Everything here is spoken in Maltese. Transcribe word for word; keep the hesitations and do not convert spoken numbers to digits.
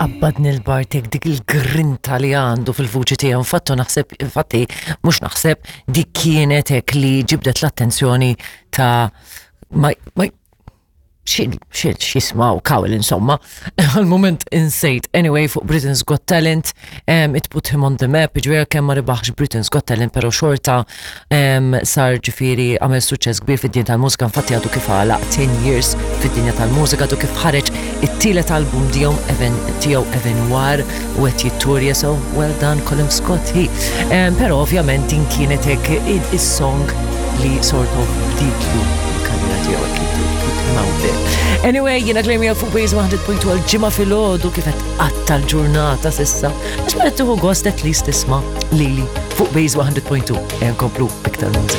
Qabbadni l-Bartek, dik il-grinta li għandu fil-vuċi tiegħu. Infatti naħseb, infatti mhux naħseb, dik kienet hekk li ġibdet l-attenzjoni ta' ma, ma, xil, xil, xismaw, Cowell, insomma, għal-moment insejt. Anyway, fuq Britain's Got Talent, um, it put him on the map, ġifieri kemm ma rebaħx Britain's Got Talent, pero xorta um, sar, ġifieri għamel suċċess kbir fid-dinja tal-mużika. Infatti għadu kif għalaq ten years fid-dinja tal-mużika, għadu kif ħareġ it-tielet album tiegħu Even tiegħu Evenwar u qed jitturja, so well done, Callum Scott he. Um, pero ovvjament din kienet hekk is-song li sort of bdietlu il-karriera tiegħu, hekk put him out there. Anyway, jiena Claire fuq Base one hundred point two għal-Ġimgħa filgħodu. Kif qed tqatta' l-ġurnata s'issa? Għax ma qed tieħu gost at least tisma' lili fuq Base one hundred point two. Ejja nkomplu iktar mużika.